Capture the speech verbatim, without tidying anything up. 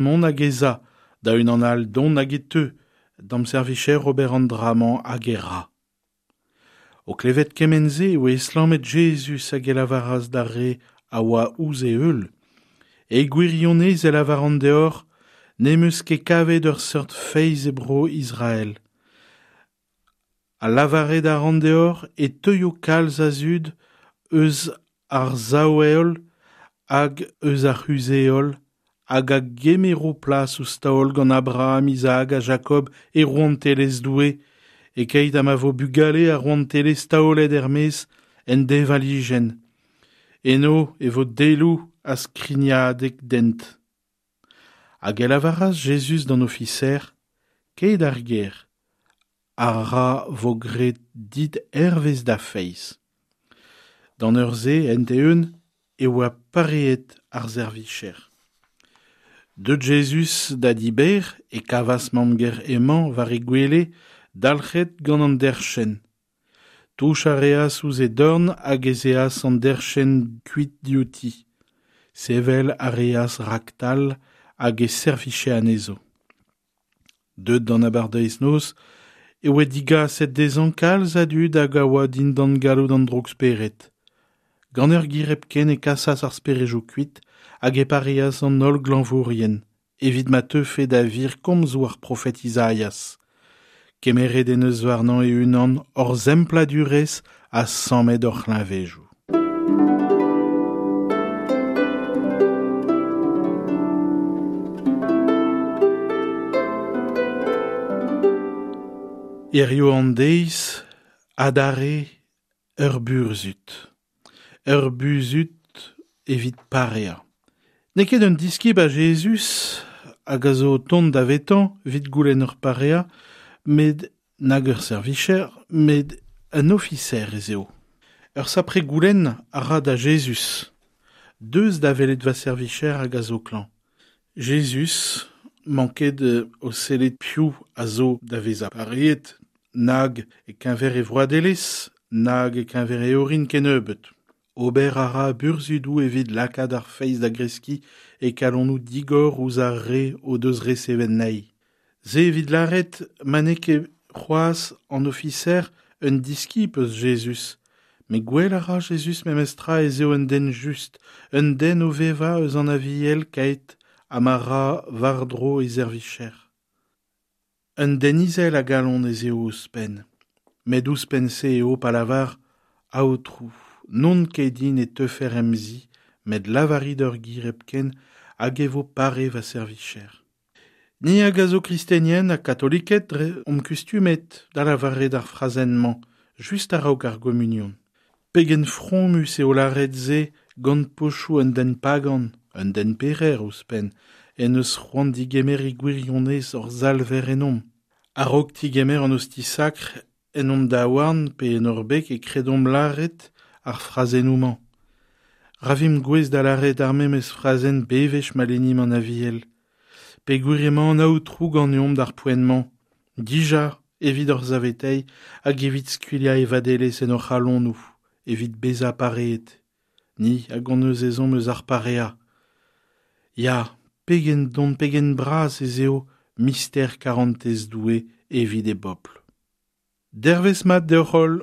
mont hag ez a, da unan all dont hag e teu, d'am servicher ober an dra-mañ hag e ra. O klevet kement-se e oa estlammet Jezuz hag e lavaras d'ar re a oa ouzh e heul. E gwirionez e lavaran deoc'h, n'em eus ket kavet ur seurt feiz e bro Israel. Ha lavaret a ran deoc'h e teuio kalz a zud eus ar sav-heol hag eus ar c'huzh-heol hag a gemero plas ouzh taol gant Abraham, Isaac ha Jacob e rouantelezh Doue, e-keit ha ma vo bugale ar rouantelezh taolet er-maez en deñvalijenn. Eno e vo daeloù ha skrignadeg dent. Hag e lavaras Jezuz d'an ofiser, kae d'ar gêr, ha ra vo graet dit hervez da feiz. D'an eur-se, end-eeun, e oa pareet ar servijer. Deut Jezuz da di Bêr e kavas mamm-gaer hemañ war he gwele, dalc'het gant an derchenn. Touch a reas ouzh he dorn hag ez eas an derchenn kuit diouti. Sevel a reas raktal hag e servije anezho. Deut d'an abardaez-noz e oa digaset dezhañ kalz a dud hag a oa dindan galloud an droug-spered. Gant ur ger hepken e kasas ar speredoù kuit hag e pareas an holl glañvourien, evit ma teufe da wir komzoù ar profed Izaias. Kemeret en deus warnañ e-unan hor sempladurezh ha sammet hor c'hleñvedoù. Hiziv an deiz, adarre ur burzhud. Ur burzhud evit pareañ. N'eo ket un diskib a Jezuz hag a zo o tont davetañ evit goulenn ur pareañ, met nag ur servicher, met un ofiser ez eo. Ur sapre goulenn a ra da Jezuz. Deus da welet va servicher hag a zo klañv. Jezuz manket o sellet piv a zo da vezañ pareet, nag e-keñver e vroadelezh, nag e-keñver e orin kennebeut. Ober a ra burzhudoù evit lakaat ar feiz da greskiñ e kalonoù digor ouzh ar re o deus resevet anezhi. Se evit lâret ma n'eo ket c'hoazh an ofiser un diskib eus Jezuz. Met gwell a ra Jezuz memestra ez eo un den just, un den o vevañ eus an Aviel keit ha ma ra war-dro e servicher. Un den izel a galon ez eo ouzhpenn. Met ouzhpenn-se eo pa lavar Aotrou, n'on ket din e teufer em zi, met lavarit ur ger hepken hag e vo pare va servicher. Ni hag a zo kristenien ha katoliked dre omp kustumet da lavaret ar frazenn-mañ, just a-raok ar gomunion. Pegen fromus eo lâret se gant pochoù un den pagan, un den pec'her ouzhpenn, en deus c'hoant digemer e gwirionez hor Salver ennomp. A-raok digemer an osti sakr en hon daouarn pe en hor beg e kredomp lâret ar frazennoù-mañ. Ra vimp gouest da lâret ar memes frazenn bewech ma lennimp an Aviel. Peogwir emañ an Aotrou ganeomp d'ar poent-mañ, dija evit hor saveteiñ hag evit skuilhañ e vadelezh en hor c'halonoù, evit bezañ pareet. Ni hag hon eus ezhomm eus ar pareañ. Ya, pegen don, pegen bras ez eo mister karantez Doue evit e bobl. Dervezh mat deoc'h holl.